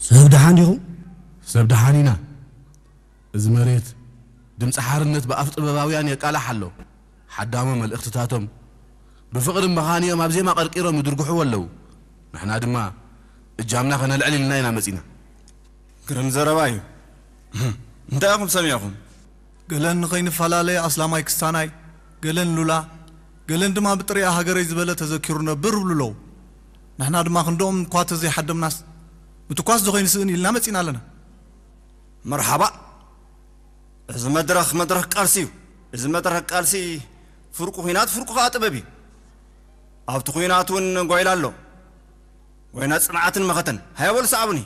ሰብ ደሓን ዲኹም? ሰብ ደሓን ኢና። እዚ መሬት ድምፂ ሓርነት ብኣፍ ጥበባውያን የቃላሕ ኣሎ። ሓዳሞ መልእኽትታቶም ብፍቕሪ መኻኒኦም ኣብ ዜማ ቀርቂሮም ይድርግሕዎ ኣለዉ። ንሕና ድማ እጃምና ከነልዕል ኢልና ኢና መፂና። ግርም ዘረባ እዩ። እንታይ ኢኹም ሰሚዕኹም? ገለን ንኸይንፈላለ ኣስላማይ ክስታናይ፣ ገለን ሉላ፣ ገለን ድማ ብጥሪኣ ሃገረይ ዝበለ ተዘኪሩ ነብር እብሉ ኣለዉ። ንሕና ድማ ክንድኦም እኳ ተዘይሓደምናስ ምትኳስ ዶ ከይንስእን ኢልና መጺና ኣለና። መርሓባ። እዚ መድረኽ መድረኽ ቃልሲ እዩ። እዚ መድረኽ ቃልሲ ፍርቁ ኲናት ፍርቁ ከኣ ጥበብ እዩ። ኣብቲ ኲናት እውን ጓይላ ኣሎ። ጓይላ ጽንዓትን መኸተን። ሃያ በሉ ሰዓቡኒ።